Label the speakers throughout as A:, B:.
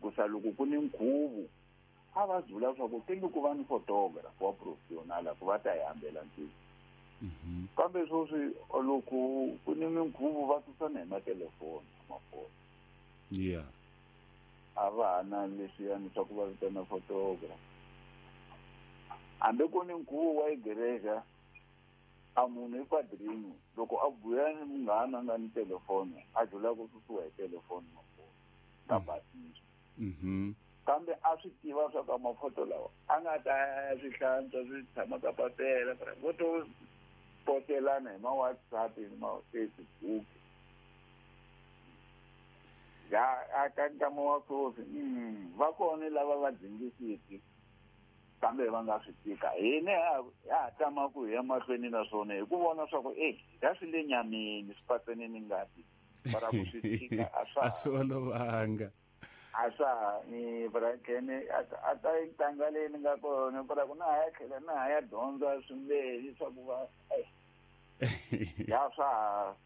A: Hikusa loko ku ni nkhuvo a va dzula swa ku tingi ku va ni photographer wa professional ku va ta hi hambela ntirho. Kambe sweswi loko ku ni minkhuvo va susana hi matelefoni mafoni. A va ha na leswiyani swa ku va vitana photographer. Hambi ku ni nkhuvo wa igreja a munhu i padrino loko a buya ni munghana a nga ni telefoni a dzula ku susiwa hi telefoni mafoni nga basisi. Kambe a swi tiva swa ka mafoto lawa a nga ta ya swi hlantswa swi tshama ka papela vo to potelana hi ma WhatsApp ni ma Facebook. Ya a ka nkama wa sweswi va kona lava va dzingisiki kambe va nga swi tika. Hina ha ha tama ku hi ya mahlweni na swona hi ku vona swa ku ya swi le nyameni swi patsene ni ngati para ku swi tika a swa
B: a swi olovanga.
A: A swa ni brakene a ta ntanga leyi ni nga kona para ku na ha ya tlhela na ha ya dyondza swimbirhi swa ku va ya swa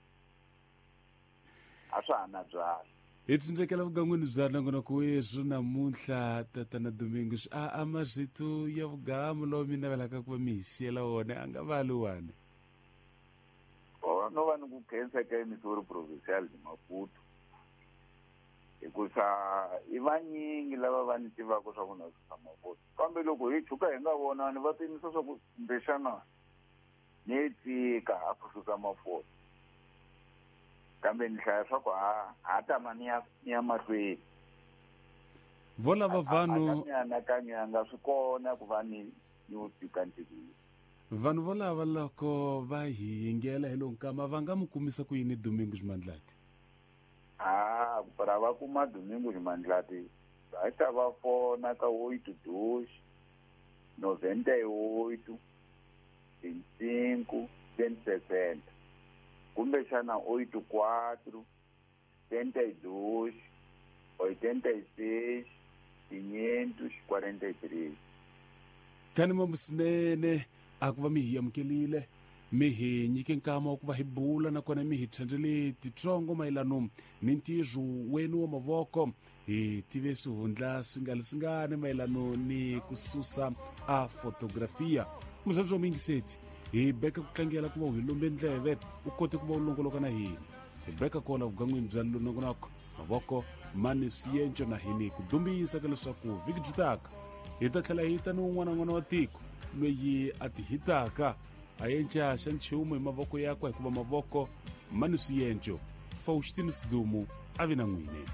A: a swa ha na byala.
B: Hi tsindzekela vugan'wini bya nongonoko weswi namuntlha tatana Domingos a mazito ya vugamu lowu mi navelaka ku va mi hi siyela wona a nga vali wani.
A: No va ni ku khensa ka Missouri Provincial de Maputo hikusa i vanyingi lava va ni tivaka swa ku na susa mafoto kambe loko hi tshuka hi nga vonani va pimisa swa ku kumbexana ni tika a ku susa mafoto kambe ni hlaya swa ku ha tama ni ya mahlweni.
B: Vo lava vanhu
A: mianakanyo ya nga swi kona ku va ni wu tika ntirho.
B: Vanhu vo lava loko va hi yingela hi lo nkama va nga mu kumisa ku yini Domingos Mandlati?
A: Para va kuma Domingos Mandlati va ta va fona ka 82 98 25 160 kumbexana 84 72 86 543.
B: Kani mamusinene a ku va mi hi amukelile mi hi nyike nkama wa ku va hi bula nakona mi hi tshenzele titsongo mayelano ni ntirho wenu wa mavoko. Hi tive swihundla swi nga leswingani mayelano ni ku susa a fotografia. Muzandzo wa muyingiseti hi beka ku tlangela ku va u hi lombe ndleve u kote ku va u longoloka na hina. Hi beka kona vugan'wini bya nongonoko mavoko mani swiyenco na hini ku dumbisa ka leswaku vhiki byi taka hi ta tlhela hi ta ni un'wana n'wana wa tiko loyi a ti hitaka a yenca xa nchumu hi mavoko yakwe hikuva mavoko mani swiyenco. Faustino Sidumo a vi na n'wini.